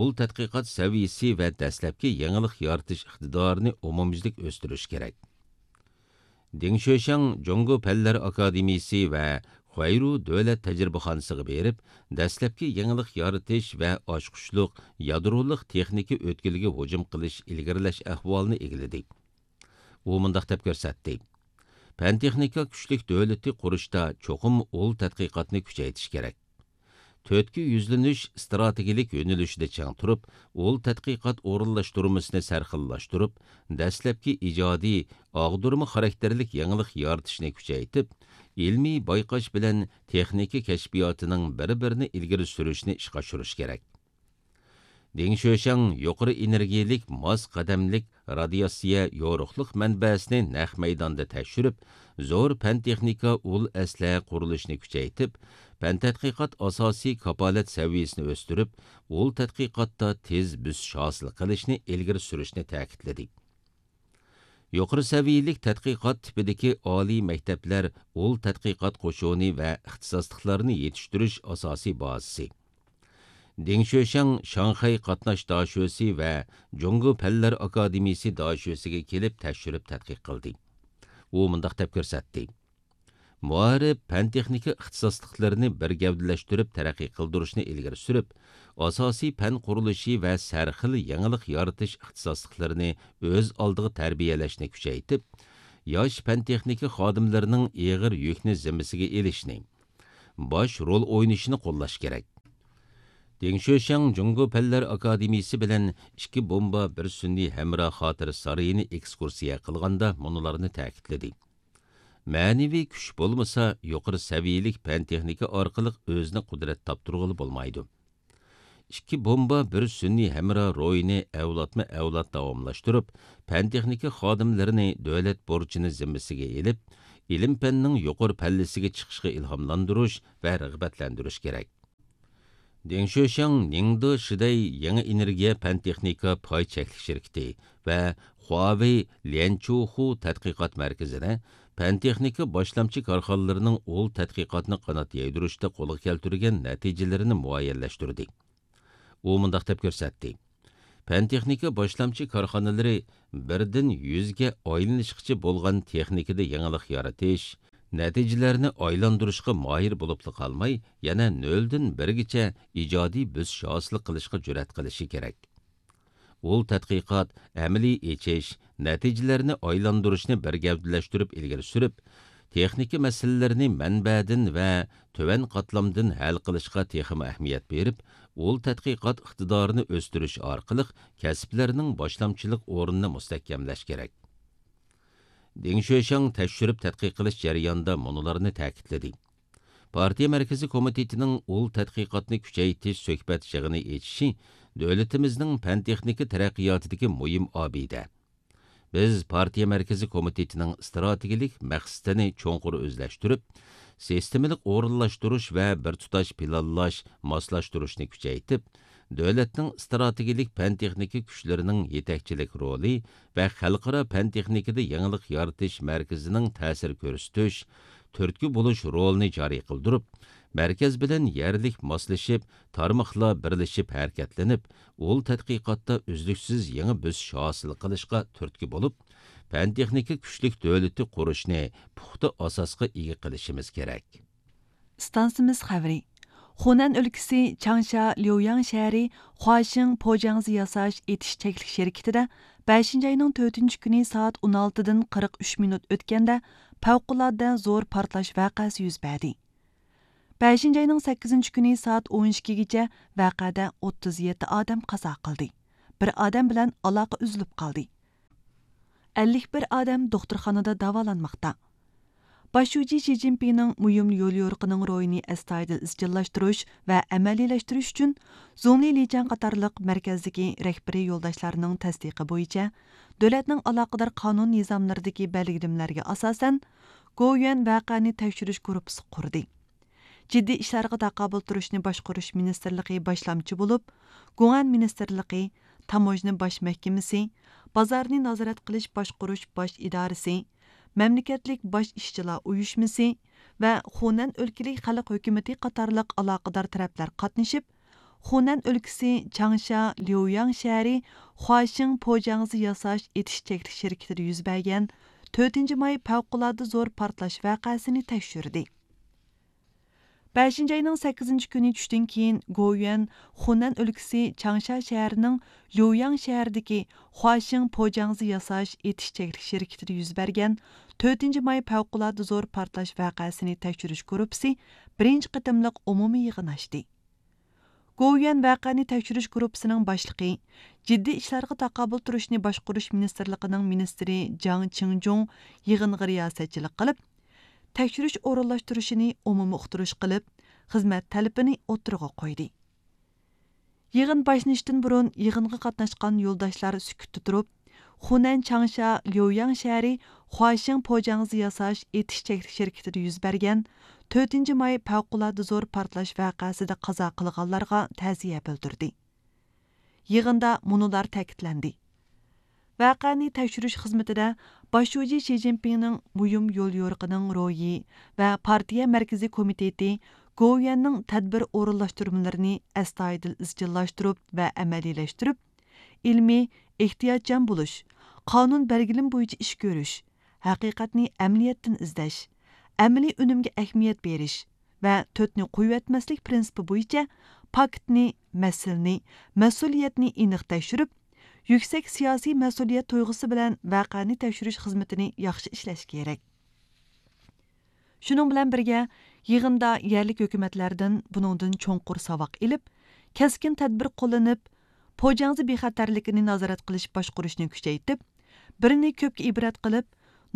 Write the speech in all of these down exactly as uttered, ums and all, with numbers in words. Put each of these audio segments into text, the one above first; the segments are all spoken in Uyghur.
ئۇل تەتقىقات سەۋىيىسى ۋە دەسلەپكى يېڭىلىق يارىتىش ئىقتىدارىنى ئومۇميۈزلۈك ئۆستۈرۈش كېرەك. دېڭ شۆشياڭ جۇڭگو پەنلەر ئاكادېمىيىسى ۋە خۇەيرۇ دۆلەت تەجرىبىخانىسىغا بېرىپ، دەسلەپكى يېڭىلىق يارىتىش ۋە ئاچقۇچلۇق يادرولۇق تېخنىكا ئۆتكىلىگە ھۇجۇم قىلىش ئىلگىرىلەش ئەھۋالىنى ئىگىلىدى. ئۇ مۇنداق دەپ كۆرسەتتى: پەن تېخنىكا كۈچلۈك دۆلىتى قۇرۇشتا چوقۇم ئۇل تەتقىقاتنى كۈچەيتىش كېرەك. تۆتكە يۈزلىنىش ئىستراتېگىيىلىك يۆنىلىشىدە چىڭ تۇرۇپ، ئۇل تەتقىقات ئورۇنلاشتۇرمىسىنى سەرخىللاشتۇرۇپ، دەسلەپكى ئىجادىي، ئاغدۇرما خاراكتېرلىك يېڭىلىق يارىتىشنى كۈچەيتىپ، ئىلمىي بايقاش بىلەن تېخنىكا كەشپىياتىنىڭ بىر-بىرىنى ئىلگىرى سۈرۈشنى ئىشقا ئاشۇرۇش كېرەك. دېڭ شۆشياڭ يۇقىرى ئېنېرگىيەلىك ماس قەدەملىك رادىياتسىيە يورۇقلۇق مەنبەسىنى نەق مەيداندا تەكشۈرۈپ، زور پەن تېخنىكا ئۇل ئەسلىھە قۇرۇلۇشىنى كۈچەيتىپ، پەن تەتقىقات ئاساسىي كاپالەت سەۋىيەسىنى ئۆستۈرۈپ، ئۇل تەتقىقاتتا تېز بۆسۈش ھاسىل قىلىشنى ئىلگىرى سۈرۈشنى تەكىتلىدى. يۇقىرى سەۋىيەلىك تەتقىقات تىپىدىكى ئالىي مەكتەپلەر ئۇل تەتقىقات قوشۇنى ۋە ئىختىساسلىقلارنى يېتىشتۈرۈش ئاساسىي بازىسى. دېڭ شۆشياڭ شاڭخەي قاتناش داشۆسى ۋە جۇڭگو پەنلەر ئاكادېمىيىسى داشۆسىگە كېلىپ تەكشۈرۈپ تەتقىق قىلدى. ئۇ مۇنداق دەپ كۆرسەتتى: مائارىپ، پەن تېخنىكا ئىختىساسلىقلىرىنى بىر گەۋدىلەشتۈرۈپ تەرەققىي قىلدۇرۇشنى ئىلگىرى سۈرۈپ، ئاساسىي پەن قۇرۇلۇشى ۋە سەرخىل يېڭىلىق يارىتىش ئىختىساسلىقلىرىنى ئۆز ئالدىغا تەربىيەلەشنى كۈچەيتىپ، ياش پەن تېخنىكا خادىملىرىنىڭ ئېغىر يۈكنى زىممىسىگە ئېلىشنى، باش رول ئوينىشىنى قوللاش كېرەك. دېڭ شۆشياڭ جۇڭگو پەنلەر ئاكادېمىيىسى بىلەن ئىككى بومبا، بىر سۈنئىي ھەمراھ خاتىرە سارىيىنى ئېكسكۇرسىيە قىلغاندا مۇنۇلارنى تەكىتلىدى: مەنىۋى كۈچ بولمىسا، يۇقىرى سەۋىيەلىك پەن تېخنىكا ئارقىلىق ئۆزىنى قۇدرەت تاپتۇرغىلى بولمايدۇ. ئىككى بومبا، بىر سۈنئىي ھەمراھ روھىنى ئەۋلادمۇ ئەۋلاد داۋاملاشتۇرۇپ، پەن تېخنىكا خادىملىرىنى دۆلەت بۇرچىنى زىممىسىگە ئېلىپ، ئىلىم پەننىڭ يۇقىرى پەللىسىگە چىقىشقا ئىلھاملاندۇرۇش ۋە رىغبەتلەندۈرۈش كېرەك. دېڭ شۆشياڭ نىڭدې شىدەي يېڭى ئېنېرگىيە پەن تېخنىكا پاي چەكلىك شىركىتى ۋە خۇاۋېي ليەنچۇخۇ تەتقىقات مەركىزىدە پەن تېخنىكا باشلامچى كارخانىلىرىنىڭ ئۇل تەتقىقاتنى قانات يايدۇرۇشتا قولغا كەلتۈرگەن نەتىجىلىرىنى مۇئەييەنلەشتۈردى. ئۇ مۇنداق دەپ كۆرسەتتى: پەن تېخنىكا باشلامچى كارخانىلىرى بىردىن يۈزگە ئايلىنىشقىچە بولغان تېخنىكىدا يېڭىلىق يارىتىش، نەتىجىلەرنى ئايلاندۇرۇشقا ماھىر بولۇپلا قالماي، يەنە نۆلدىن بىرگىچە ئىجادىي بۆسۈش ھاسىل قىلىشقا جۈرئەت قىلىشى كېرەك. ئۇل تەتقىقات، ئەمەلىي ئېچىش، نەتىجىلەرنى ئايلاندۇرۇشنى بىر گەۋدىلەشتۈرۈپ ئىلگىرى سۈرۈپ، تېخنىكا مەسىلىلىرىنى مەنبەدىن ۋە تۆۋەن قاتلامدىن ھەل قىلىشقا تېخىمۇ ئەھمىيەت بېرىپ، ئۇل تەتقىقات ئىقتىدارىنى ئۆستۈرۈش ئارقىلىق كەسىپلەرنىڭ باشلامچىلىق ئورنىنى مۇستەھكەملەش كېرەك. دېڭ شۆشياڭ تەكشۈرۈپ تەتقىق قىلىش جەريانىدا مۇنۇلارنى تەكىتلىدى: پارتىيە مەركىزىي كومىتېتىنىڭ ئۇل تەتقىقاتنى كۈچەيتىش سۆھبەت يىغىنى ئېچىشى دۆلىتىمىزنىڭ پەن-تېخنىكا تەرەققىياتىدىكى مۇھىم ئابىدە. بىز پارتىيە مەركىزىي كومىتېتىنىڭ ئىستراتېگىيەلىك مەقسىتىنى چوڭقۇر ئۆزلەشتۈرۈپ، سىستېمىلىق ئورۇنلاشتۇرۇش ۋە بىر تۇتاش پىلانلاش، ماسلاشتۇرۇشنى كۈچەيتىپ، دۆلەتنىڭ ئىستراتېگىيەلىك پەن-تېخنىكا كۈچلىرىنىڭ يېتەكچىلىك رولى ۋە خەلقئارا پەن-تېخنىكىدا يېڭىلىق يارىتىش مەركىزىنىڭ تەسىر كۆرسىتىش، تۈرتكە بولۇش رولىنى جارى قىلدۇرۇپ، مەركەز بىلەن يەرلىك ماسلىشىپ، تارماقلار بىرلىشىپ ھەرىكەتلىنىپ، ئۇل تەتقىقاتتا ئۈزلۈكسىز يېڭى بۆسۈش ھاسىل قىلىشقا تۈرتكە بولۇپ، پەن-تېخنىكا كۈچلۈك دۆلىتى قۇرۇشنى پۇختا ئاساسقا ئىگە قىلىشىمىز كېرەك. ئىستانسىمىز خەۋىرى. خۇنەن ئۆلكىسى چاڭشا ليۇياڭ شەھىرى خۇاشىڭ پوجاڭزى ياساش ئېتىش چەكلىك شىركىتىدە بەشىنچى ئاينىڭ تۆتىنچى كۈنى سائەت ئون ئالتىدىن قىرىق ئۈچ مىنۇت ئۆتكەندە پەۋقۇلئاددە زور پارتلاش ۋەقەسى يۈز بەردى. بەشىنچى ئاينىڭ سەككىزىنچى كۈنى سائەت ئون ئىككىگىچە ۋەقەدە ئوتتۇز يەتتە ئادەم قازا قىلدى. بىر ئادەم بىلەن ئالاقە ئۈزۈلۈپ قالدى. ئەللىك بىر ئادەم دوختۇرخانىدا داۋالانماقتا. باش شۇجى شى جىنپىڭنىڭ مۇھىم يوليورۇقىنىڭ روھىنى ئەستايىدىل ئىزچىللاشتۇرۇش ۋە ئەمەلىيلەشتۈرۈش ئۈچۈن، زۇڭلى لىچيەن قاتارلىق مەركەزدىكى رەھبىرىي يولداشلارنىڭ تەستىقى بويىچە، دۆلەتنىڭ ئالاقىدار قانۇن نىزاملىرىدىكى بەلگىلىمىلەرگە ئاساسەن، گوۋۇيۈەن ۋەقەنى تەكشۈرۈش گۇرۇپپىسى قۇردى. جىددىي ئىشلارغا تاقابىل تۇرۇشنى باشقۇرۇش مىنىستىرلىقى باشلامچى بولۇپ، گۇڭئەن مىنىستىرلىقى، تاموژنا باش مەھكىمىسى، بازارنى نازارەت قىلىش باشقۇرۇش باش ئىدارىسى، مەملىكەتلىك باش ئىشچىلار ئۇيۇشمىسى ۋە خۇنەن ئۆلكىلىك خەلق ھۆكۈمىتى قاتارلىق ئالاقىدار تەرەپلەر قاتنىشىپ، خۇنەن ئۆلكىسى چاڭشا ليۇياڭ شەھىرى خۇاشىڭ پوجاڭزى ياساش ئېتىش چەكلىك شىركىتىدە يۈز بەرگەن تۆتىنچى ماي پەۋقۇلئاددە زور پارتلاش ۋەقەسىنى تەكشۈردى. بەشىنچى ئاينىڭ سەككىزىنچى كۈنى چۈشتىن كېيىن، گوۋۇيۈەن خۇنەن ئۆلكىسى چاڭشا شەھىرىنىڭ ليۇياڭ شەھىرىدىكى خۇاشىڭ پوجاڭزى ياساش ئېتىش چەكلىك شىركىتىدە يۈز بەرگەن تۆتىنچى ماي پەۋقۇلئاددە زور پارتلاش ۋەقەسىنى تەكشۈرۈش گۇرۇپپىسى بىرىنچى قېتىملىق ئومۇمىي يىغىن ئاچتى. گوۋۇيۈەن ۋەقەنى تەكشۈرۈش گۇرۇپپىسىنىڭ باشلىقى، جىددىي ئىشلارغا تاقابىل تۇرۇشنى باشقۇرۇش مىنىستىرلىقىنىڭ مىنىستىرى جاڭ چىڭجۇڭ يىغىنغا رىياسەتچىلىك قىلىپ، تەكشۈرۈش ئورۇنلاشتۇرۇشىنى ئومۇمىي ئۇقتۇرۇش قىلىپ، خىزمەت تەلىپىنى ئوتتۇرىغا قويدى. يىغىن باشلىنىشتىن بۇرۇن يىغىنغا قاتناشقان يولداشلار سۈكۈتتە تۇرۇپ، خۇنەن چاڭشا ليۇياڭ شەھىرى خۇاشىڭ پوجاڭزى ياساش ئېتىش چەكلىك شىركىتىدە يۈز بەرگەن تۆتىنچى ماي پەۋقۇلئاددە زور پارتلاش ۋەقەسىدە قازا قىلغانلارغا تەزىيە بىلدۈردى. يىغىندا مۇنۇلار تەكىتلەندى: ۋەقەنى تەكشۈرۈش خىزمىتىدە باش شۇجى شى جىنپىڭنىڭ مۇھىم يوليورۇقىنىڭ روھى ۋە پارتىيە مەركىزىي كومىتېتى گوۋۇيۈەننىڭ تەدبىر ئورۇنلاشتۇرمىلىرىنى ئەستايىدىل ئىزچىللاشتۇرۇپ ۋە ئەمەلىيلەشتۈرۈپ، ئىلمىي، ئېھتىياتچان بولۇش، قانۇن بەلگىلىمە بويىچە ئىش كۆرۈش، ھەقىقەتنى ئەمەلىيەتتىن ئىزدەش، ئەمەلىي ئۈنۈمگە ئەھمىيەت بېرىش ۋە تۆتنى قويۇۋەتمەسلىك پىرىنسىپى بويىچە پاكىتنى، مەسىلىنى، مەسئۇلىيەتنى ئېنىق تەكشۈرۈپ، يۈكسەك سىياسىي مەسئۇلىيەت تۇيغۇسى بىلەن ۋەقەنى تەكشۈرۈش خىزمىتىنى ياخشى ئىشلەش كېرەك. شۇنىڭ بىلەن بىرگە، يىغىندا يەرلىك ھۆكۈمەتلەردىن بۇنىڭدىن چوڭقۇر ساۋاق ئېلىپ، كەسكىن تەدبىر قوللىنىپ، پوجاڭزى بىخەتەرلىكىنى نازارەت قىلىش باشقۇرۇشنى كۈچەيتىپ، بىرنى كۆپكە ئىبرەت قىلىپ،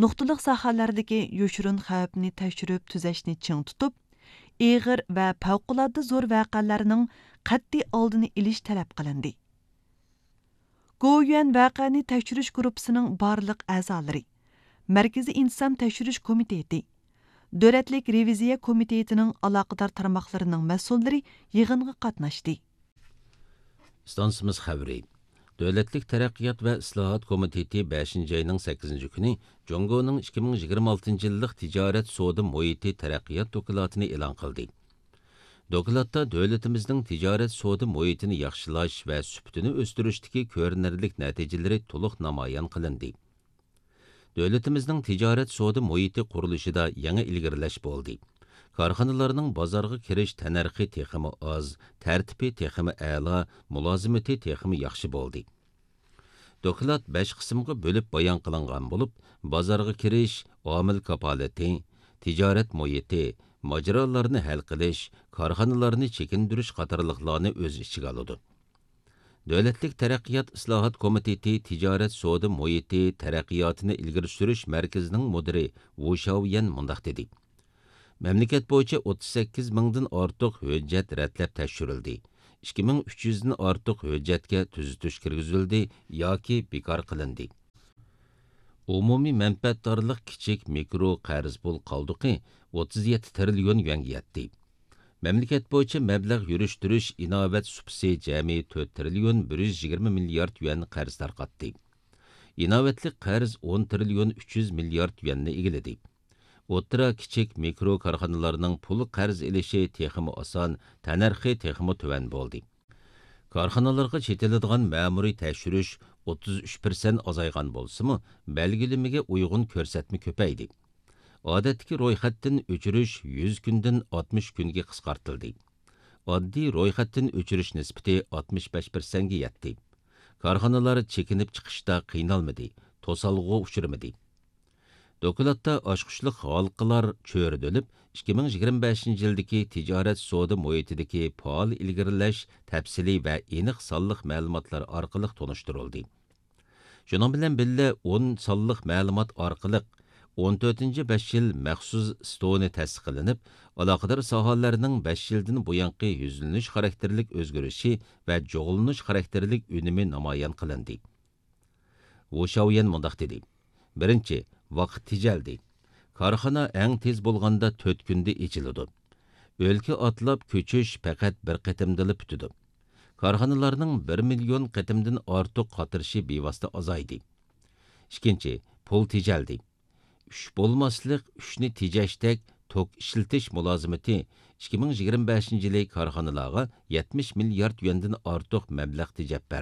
نۇقتىلىق ساھەلەردىكى يوشۇرۇن خەۋپنى تەكشۈرۈپ تۈزەشنى چىڭ تۇتۇپ، ئېغىر ۋە پەۋقۇلئاددە زور ۋەقەلەرنىڭ قەتئىي ئالدىنى ئېلىش تەلەپ قىلىندى. گوۋۇيۈەن ۋەقەنى تەكشۈرۈش گۇرۇپپىسىنىڭ بارلىق ئەزالىرى، مەركىزىي ئىنتىزام تەكشۈرۈش كومىتېتى، دۆلەتلىك رېۋىزىيە كومىتېتىنىڭ ئالاقىدار تارماقلىرىنىڭ مەسئۇللىرى يىغىنغا قاتناشتى. ئىستانسىمىز خەۋىرى. دۆلەتلىك تەرەققىيات ۋە ئىسلاھات كومىتېتى بەشىنچى ئاينىڭ سەككىزىنچى كۈنى جۇڭگونىڭ ئىككى مىڭ يىگىرمە ئالتىنچى يىللىق تىجارەت سودا مۇھىتى تەرەققىيات دوكلاتىنى ئېلان قىلدى. دوكلاتتا دۆلىتىمىزنىڭ تىجارەت سودا مۇھىتىنى ياخشىلاش ۋە سۈپىتىنى ئۆستۈرۈشتىكى كۆرۈنەرلىك نەتىجىلىرى تولۇق نامايان قىلىندى. دۆلىتىمىزنىڭ تىجارەت سودا مۇھىتى قۇرۇلۇشىدا يېڭى ئىلگىرىلەش بولدى. كارخانىلارنىڭ بازارغا كىرىش تەننەرخى تېخىمۇ ئاز، تەرتىپى تېخىمۇ ئەلا، مۇلازىمىتى تېخىمۇ ياخشى بولدى. دوكلات بەش قىسىمغا بۆلۈپ بايان قىلىنغان بولۇپ، بازارغا كىرىش، ئامىل كاپالىتى، تىجارەت مۇھىتى، ماجىرالارنى ھەل قىلىش، كارخانىلارنى چېكىندۈرۈش قاتارلىقلارنى ئۆز ئىچىگە ئالىدۇ. دۆلەتلىك تەرەققىيات ئىسلاھات كومىتېتى تىجارەت سودا مۇھىتى تەرەققىياتىنى ئىلگىرى سۈرۈش مەركىزىنىڭ مۇدىرى ۋۇ شاۋيەن مۇنداق دېدى: مەملىكەت بويىچە ئوتتۇز سەككىز مىڭدىن ئارتۇق ھۆججەت رەتلەپ تەكشۈرۈلدى، ئىككى مىڭ ئۈچ يۈزدىن ئارتۇق ھۆججەتكە تۈزىتىش كىرگۈزۈلدى ياكى بىكار قىلىندى. ئومۇمىي مەنپەئەتدارلىق كىچىك مىكرو قەرز پۇل قالدۇقى ئوتتۇز يەتتە تىرىليون يۈەنگە يەتتى. مەملىكەت بويىچە مەبلەغ يۈرۈشتۈرۈش ئىناۋەت سۇپىسى جەمئىي تۆت تىرىليون بىر يۈز يىگىرمە مىليارد يۈەن قەرز تارقاتتى. ئىناۋەتلىك قەرز ئون تىرىليون ئۈچ يۈز مىليارد يۈەننى ئىگىلىدى. ئوتتۇرا، كىچىك، مىكرو كارخانىلارنىڭ پۇل قەرز ئېلىشى تېخىمۇ ئاسان، تەننەرخى تېخىمۇ تۆۋەن بولدى. كارخانىلارغا چېتىلىدىغان مەمۇرىي تەكشۈرۈش ئوتتۇز ئۈچ پىرسەنت ئازايغان بولسىمۇ، بەلگىلىمىگە ئۇيغۇن كۆرسەتمە كۆپەيدى. ئادەتتىكى رويخەتتىن ئۆچۈرۈش يۈز كۈندىن ئاتمىش كۈنگە قىسقارتىلدى. ئاددىي رويخەتتىن ئۆچۈرۈش نىسبىتى ئاتمىش بەش پىرسەنتكە يەتتى. كارخانىلار چېكىنىپ چىقىشتا قىينالمىدى، توسالغۇغا ئۇچرىمىدى. دوكلاتتا ئاچقۇچلۇق ھالقىلار چۆرىدىلىپ، ئىككى مىڭ يىگىرمە بەشىنچى يىلدىكى تىجارەت سودا مۇھىتىدىكى پائال ئىلگىرىلەش تەپسىلىي ۋە ئېنىق سانلىق مەلۇماتلار ئارقىلىق تونۇشتۇرۇلدى. شۇنىڭ بىلەن بىللە، ئون سانلىق مەلۇمات ئارقىلىق ئون تۆتىنچى بەش يىل مەخسۇس ستونى تەسىس قىلىنىپ، ئالاقىدار ساھەلەرنىڭ بەش يىلدىن بۇيانقى يۈزلىنىش خاراكتېرلىك ئۆزگىرىشى ۋە جۇغلىنىش خاراكتېرلىك ئۈنۈمى نامايان قىلىندى. ۋۇ شاۋيەن مۇنداق دېدى: بىرىنچى، ۋاقىت تېجەلدى. كارخانا ئەڭ تېز بولغاندا تۆت كۈندە ئېچىلىدۇ. ئۆلكە ئاتلاپ كۆچۈش پەقەت بىر قېتىمدىلا پۈتىدۇ. كارخانىلارنىڭ بىر مىليون قېتىمدىن ئارتۇق قاترىشى بىۋاسىتە ئازايدى. ئىككىنچى، پۇل تېجەلدى. ئۈچ بولماسلىق، ئۈچنى تېجەشتەك توك ئىشلىتىش مۇلازىمىتى ئىككى مىڭ يىگىرمە بەشىنچى يىلى كارخانىلارغا يەتمىش مىليارد يۈەندىن ئارتۇق مەبلەغ تېجەپ بەردى.